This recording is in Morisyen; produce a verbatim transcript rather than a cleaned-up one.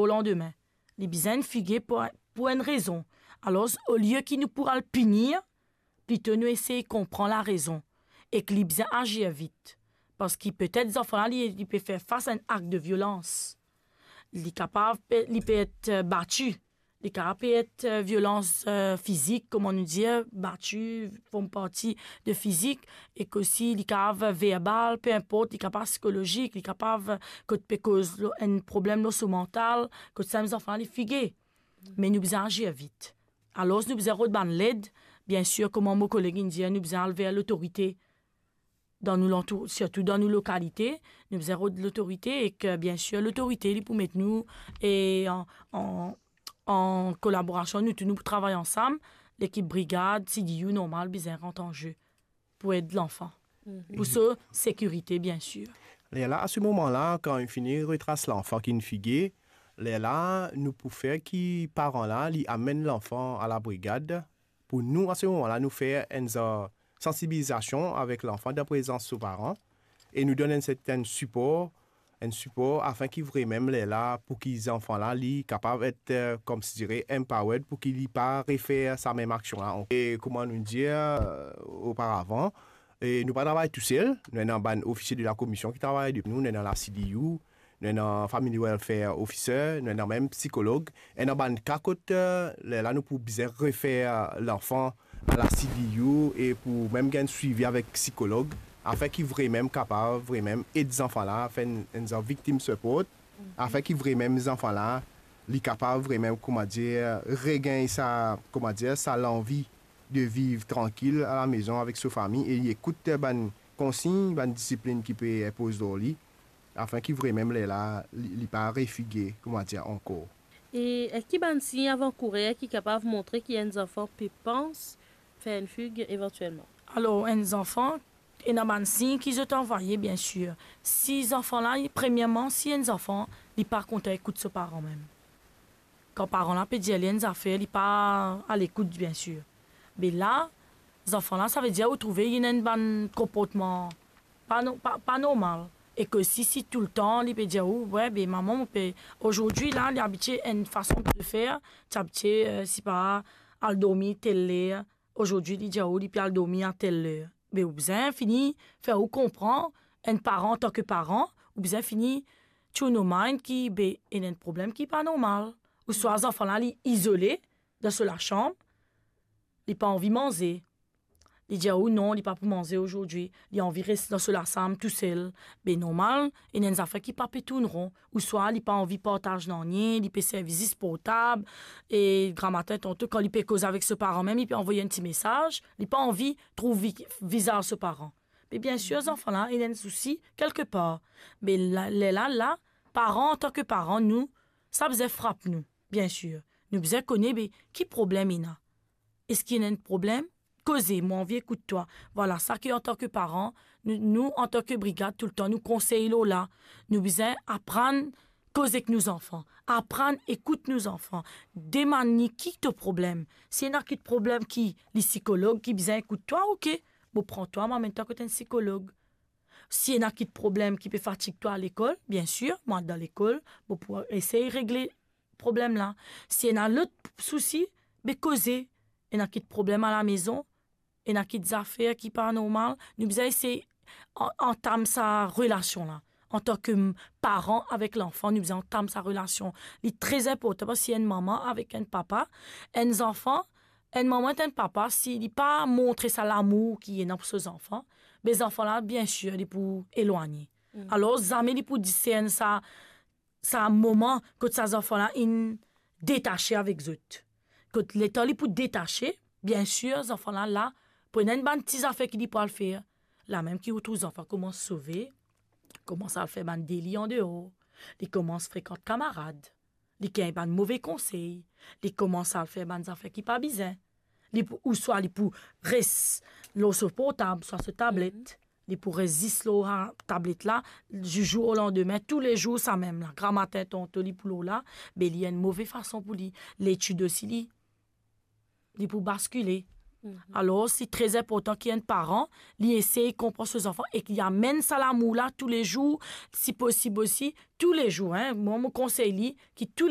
o landime. Li bizin enn fige pou, pou enn rezon. Alor, olie ki nou pou al pini, plito nou esey konpran larezon ek li bizin azir vit. Parski petet zanfan la, li, li pe fer fas a enn akt de violans. Li kapav pe, li pe et, eh, bati. Li kapav pe et, eh, violans, eh, fizik, kouma nou dir, bati, form parti de fizik, ek osi li kapav verbal, pe inport, li kapav psikolozik, li kapav, eh, kot pe koz lor enn problem lor so mantal, kot sa mem zanfan la, li fige. Me nou bizin azir vit. Alor, nou bizin rod bann led, biensir, kouma mo koleg inn dir, nou bizin al ver lotorite dan nou lantour, sirtou dan nou lokalite, nou bizin rod lotorite ek, eh, biensir, lotorite, li pou met nou, e an, an, an kolaborasion, nou tou, nou pou travay ansam, lekip brigad, C D U normal, bizin rant an ze pou ed lanfan. Mhm. Pou so sekirite, biensir. Lerla, a se moman la, kan inn fini retras lanfan ki inn fige, lerla, nou pou fer ki paran la, li amenn lanfan a la brigad. Pou nou, a se moman la, nou fer enn zan sansibilizasion avek lanfan dan prezans so paran. E nou donn enn sertenn sipor, enn sipor afin ki vremem lerla pou ki zanfan la, li kapav et, eh, koumsi dire, empowered pou ki li pa refer sa mem aksion la ankor. E kouma nou dir, eh, oparavan, e nou pa travay tousel, nou ena bann ofisie de la komision ki travay de nou, nou ena la C D U, nou ena family welfare officer, nou ena mem psikolog, ena bann ka kot, eh, lerla nou pou bizin refer lanfan a la C D U e pou mem gagn swivi avek psikolog, afin ki vremem kapav vremem ed zanfan la, fer enn, enn zan victim support, afin ki vremem zanfan la, li kapav vremem, kouma dir, regagn sa, kouma dir, sa lanvi de viv trankil a la mezon avek so fami e li ekout bann konsign, bann disiplin ki pe inpoz lor li, afin ki vremem lerla, li, li pa refige, kouma dir, ankor. E, eh, ki bann sign avan kourer ki kapav montre ki enn zanfan pe pans fer enn fig evantielman? Alor, enn zanfan, ena bann sign ki zot anvaye, biensir. Si zanfan la, premierman, si enn zanfan, li pa kontan ekout so paran mem. Kan paran la pe dir li enn zafer, li pa alekout, biensir. Be la, zanfan la, savedir ou trouve li ena enn bann konportman pa no-, pa, pa normal. E ke si, si toultan li pe dir ou, "We, be mama, mo pe, ozordi la, li abitie enn fason de fer, ti abitie, eh, sipa, al dormi tel ler, ozordi li dir ou li pe al dormi a tel ler." Be ou bizin fini fer ou konpran, enn paran, antan ke paran, ou bizin fini tune your mind ki, be, ena enn problem ki pa normal. Ouswa zanfan la, li izole dan so lasam, li pa anvi manze. Li dir ou non, li pa pou manze ozordi, li anvi res dan so lasam tousel. Be normal, ena enn zafer ki pa pe tourn ron, ouswa li pa anvi partaz nanye, li pe servi zis portab, e gramatin tanto, kan li pe koz avek so paran mem, li pe anvoy enn ti mesaz, li pa anvi trouv vi-, vizaz so paran. Me biensir, zanfan la, ena enn sousi kelkepar. Me la, lerla, la, paran, antan ke paran, nou, sa bizin frap nou, biensir. Nou bizin kone, be, ki problem ena? Eski ena enn problem? Koze, mo anvi ekout twa. Vwala sa ki, antan ke paran, nou, nou, antan ke brigad, toultan nou konsey lor la. Nou bizin aprann koz ek nou zanfan, aprann ekout nou zanfan. Demann li ki to problem. Si ena kit problem ki li sikolog ki bizin ekout twa, oke, mo pran twa, mo amenn twa kot enn sikolog. Si ena kit problem ki pe fatig twa lekol, biensir, mo al dan lekol, mo pou esey regle problem la. Si ena lot sousi, be koze. Ena kit problem a lamezon, ena kit zafer ki pa normal, nou bizin esey an-, antam sa relasion la. Antan ke m-, paran avek lanfan, nou bizin antam sa relasion. Li tre inportan, parski enn mama avek enn papa, enn zanfan, enn mama ek enn papa, si li pa montre sa lamour ki ena pou so zanfan, be zanfan la, biensir, li pou elwagne. Mm. Alor, zame li pou disern sa, sa moman kot sa zanfan la inn detase avek zot. Kot letan li pou detase, biensir, zanfan la, la, pou ena enn bann ti zafer ki li pou al fer. Lamem ki ou trouv zanfan koumans sove, koumans al fer bann deli andeor, li koumans frekant kamarad, li gagn bann move konsey, li koumans al fer bann zafer ki pa bizin. Li pou, ouswa li pou res lor so portab, swa so tablet. Mhm. Li pou res zis lor, ah, tablet la, di zour o landime, toulezour samem la. Gramatin tanto li pou lor la, be li enn move fason pou li. Letid osi li, li pou baskile. Mhm. Alor, li tre inportan ki enn paran, li esey konpran so zanfan ek li amenn sa lamour la toulezour, si posib osi, toulezour, hein. Mwa, mo konsey li ki tou